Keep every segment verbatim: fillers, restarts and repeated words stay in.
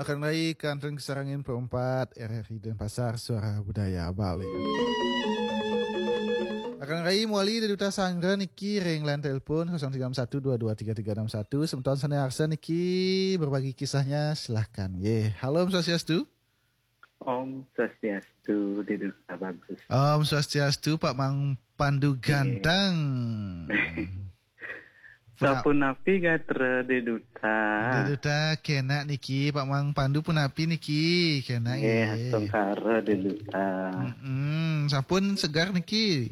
Akan rai kanten kasarengin perempat R R I Denpasar, Suara Budaya Bali. Akan rai mawali Dé Duta Sandra niki ring line telepon kosong tiga enam satu dua dua tiga tiga enam satu. Semeton sané arsa niki berbagi kisahnya, silahkan. Yé. Halo, Om Swastiastu. Om Swastiastu, Dé Duta Bagus. Om Swastiastu, Pak Mang Pandu Ganteng. Sapunapi gatra Dé Duta? Dé Duta kénak niki, Pak Mang Pandu punapi niki, kénak nggih, nggih. Astungkara Dé Duta. Mm-mm, sampun seger niki?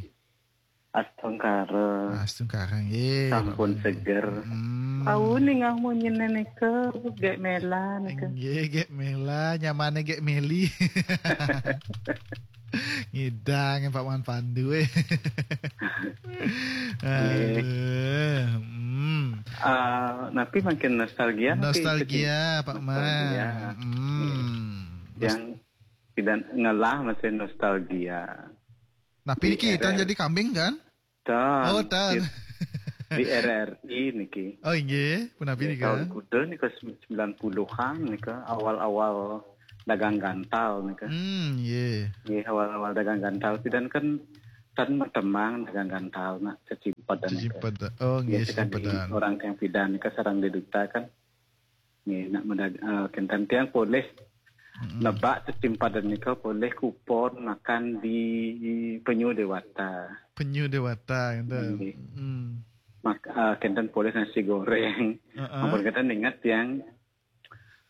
Astungkara. Astungkara nggih, sampun Pak Mang. Seger. Mm. Tahu nih ngang munyiné nika, gék méla nika. Nggih, gék méla, nyamané gék méli. Ngidang Pak Man Pandu, eh. Nggih. Aduh, hmm. Ah, napi mangkin nostalgia, napi? Nostalgia, Pak Man. Nostalgia. Hmm. Nggih. Yang tidak ngelah masih nostalgia. Napi niki, di R R, tan jadi kambing, kan? Tan. Oh, tan. Di, di R R I niki. Oh, inggih, punapi nika? Nggih, tahun kuda nika, sem-, sembilan puluhan nika, awal-awal dagang gantal nika. Hmm, nggih. Nggih, awal-awal dagang gantal, pidan kan tan matemang dagang gantal, nak cecimpedan nika. Cecimpedan. Oh, nggih, nggih, sekadi cecimpedan. Orang tiang pidan nika sareng Dé Duta kan. Nggih, nak medag-, eh, kénten tiang polih, mm-mm, nebak cecimpedan nika polih kupon makan di Penyu Dewata. Penyu Dewata, kénten. Nggih. Mm. Mak-, eh, kénten polih nasi goreng. Heeh. Ampun, kénten inget tiang,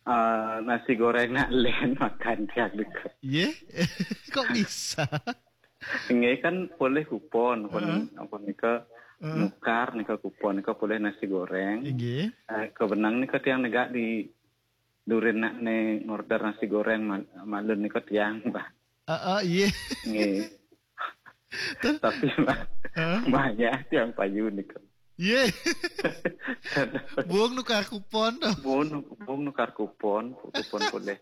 eh, nasi goreng nak lén makan tiang nika. Yé? Kok bisa? Nggih, kan polih kupon, pun, heeh, apa nika, heeh, nukar nika kupon nika polih nasi goreng. Inggih. Eh, kebenang nika tiang negak di durin nak né ngorder nasi goreng mal-, malun nika tiang, bah. Heeh, iya. Nggih. Terus? Tapi, bah, heeh, maya tiang payu nika. Iya. Buung nukar kupon tuh. Buung nu-, buung nukar kupon, kupon polih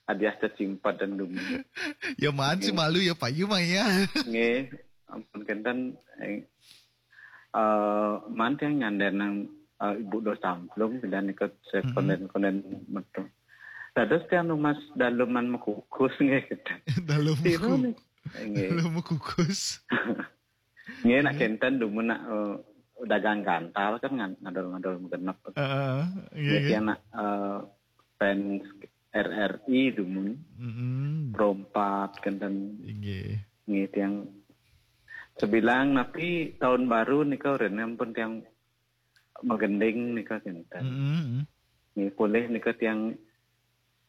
hadiah cecimpedan dumun. Ya, maan sih, nggih, malu ya, payu mah ya. Nggih, ampun kénten, eh, eh, maan tiang nyandénang, eh, Ibu Dos Samplung, dan ikut se-, mm-mm, konden-konden metu. Dados tiang numbas daleman makukus nggih, kénten. Dalem. Tiru maku-, nih. Nggih. Dalem makukus. Nggih, nak, nggih, kénten dumun nak, eh, dagang gantal kan ngan-, ngadol-ngadol magenep. Heeh, nggih, nggih, nggih. Tiang nak, eh, fans R R I dumun. Mm-mm. Perempat kénten. Inggih. Nggih, tiang sebilang napi tahun baru nika, rin ampun tiang magending nika kénten. Mm-mm. Nggih, polih nika tiang,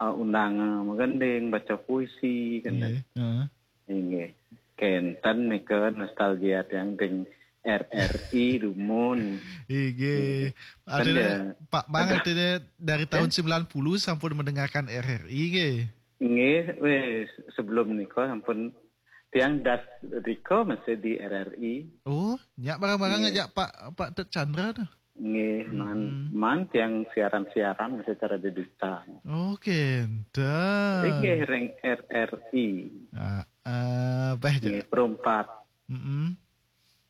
uh, undang, uh, magending, baca puisi, kénten. Nggih, heeh. Inggih. Kénten nika nostalgia tiang ring R R I dumun. Inggih. Nggih. Kan artinya, ya, Pak Mang, ada, artinya dari tahun, eh, sembilan puluh sampun mendengarkan R R I, nggih? Nggih, wis, sebelum nika sampun tiang das rika masih di R R I. Oh, nyak barang-barang, nggih, ngajak Pak, Pak Tut Chandra tuh. Nggih, man, hmm, man tiang siaran-siaran secara digital. Oh, kénten. Inggih, ring R R I. Ah, ah, bah, nggih, ja-, perempat. Mm-mm.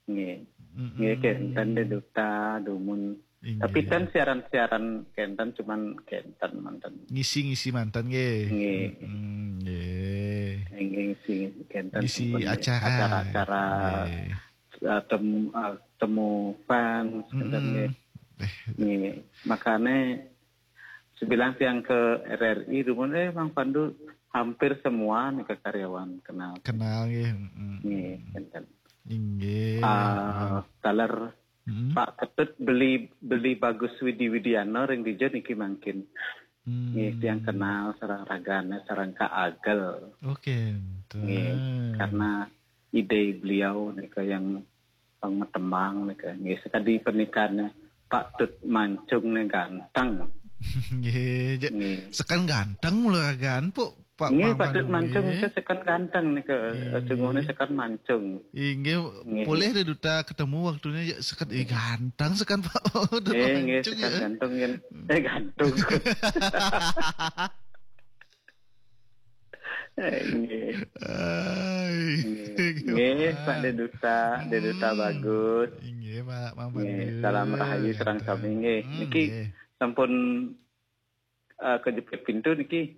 Nggih. Mm-mm. Nggih, kénten Dé Duta dumun. Inggih. Tapi tan siaran-siaran kénten, cuman kénten manten. Ngisi-ngisi manten, nggih. Nggih. Mm-mm, nggih. Nggih, ngisi kénten, ngisi acara. Acara-acara, nggih, eh, tem-, eh, temu fans, kénten, mm-mm, nggih. Eh. Nggih. Makanya sebilang tiang ke R R I dumun, eh, Mang Pandu hampir semua nih ke karyawan kenal. Kenal, nggih. Mm-mm. Nggih, kénten. Inggih. Ah, taler, mm-mm, Pak Ketut Beli, Beli Bagus Widi Widiana ring dija niki mangkin. Hmm. Nggih, tiang kenal sareng ragané, sareng Kak Agel. Oh, kénten. Nggih, karena ide beliau nika yang pang matemang nika. Nggih, sekadi pernikahannya Pak Tut Mancung né ganteng. Nggih, ja-, nggih, seken ganteng mula ragaan, Pak. Pak, nggih, Mang Patut Pandu, mancung nggih. Nika seken ganteng nika, eh, nggih, sungguhnya seken mancung. Inggih, nggih, polih Dé Duta ketemu waktunya, ya, seken, eh, ganteng seken, Pak. Udah, eh, nggih, mancung, seken ya. Ganteng, kan. Eh, ganteng. Eh, nggih. Ai. Nggih. Nggih, Pak Dé Duta, Dé Duta, hmm, bagus. Inggih, Pak, Mang Pandu. Nggih, salam rahayu sareng sami, nggih. Hmm, niki, nggih, sampun eh, kejepit pintu niki.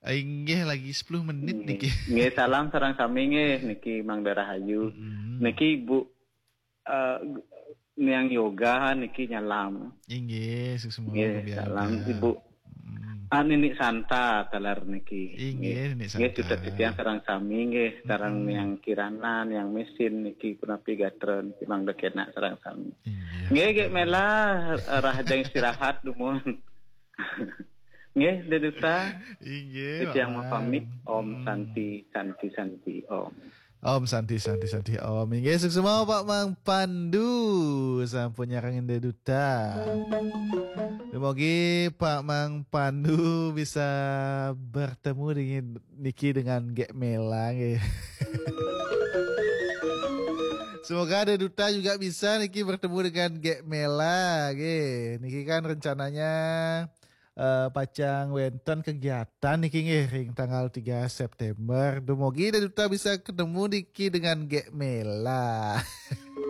Inggih, lagi sepuluh menit niki. Nggih, salam sareng sami nggih niki Mang Darahayu. Mm-mm. Niki Ibu eh, Niang Yoga niki nyalam. Inggih, suksma Nggih, kebiasa. Salam Ibu. Mm. Ah, Nini Santa taler niki. Inggih, Nini Nggih, Santa. Sutet titiang sareng sami nggih, sareng Mm-mm. Niang Kirana, Niang Mesin niki punapi gatra niki mangda kenak sareng sami. Inggih. Nggih, Gék Mela, rahajeng istirahat dumun. Nggih, Deduta. Inggih, Titiang Mang. Mapamit. Om Hmm. Santi, Santi, Santi, Om. Om Santi, Santi, Santi, Om. Inggih, suksma Pak Mang Pandu. Sampun nyarengin Deduta. Dumugi Pak Mang Pandu bisa bertemu dengan niki dengan Gék Mela nggih. Semoga Deduta juga bisa niki bertemu dengan Gék Mela nggih. Niki kan rencananya eh, pacang wénten kegiatan niki nggih ring tanggal tiga September. Dumugi Deduta bisa ketemu niki dengan Gék Mela.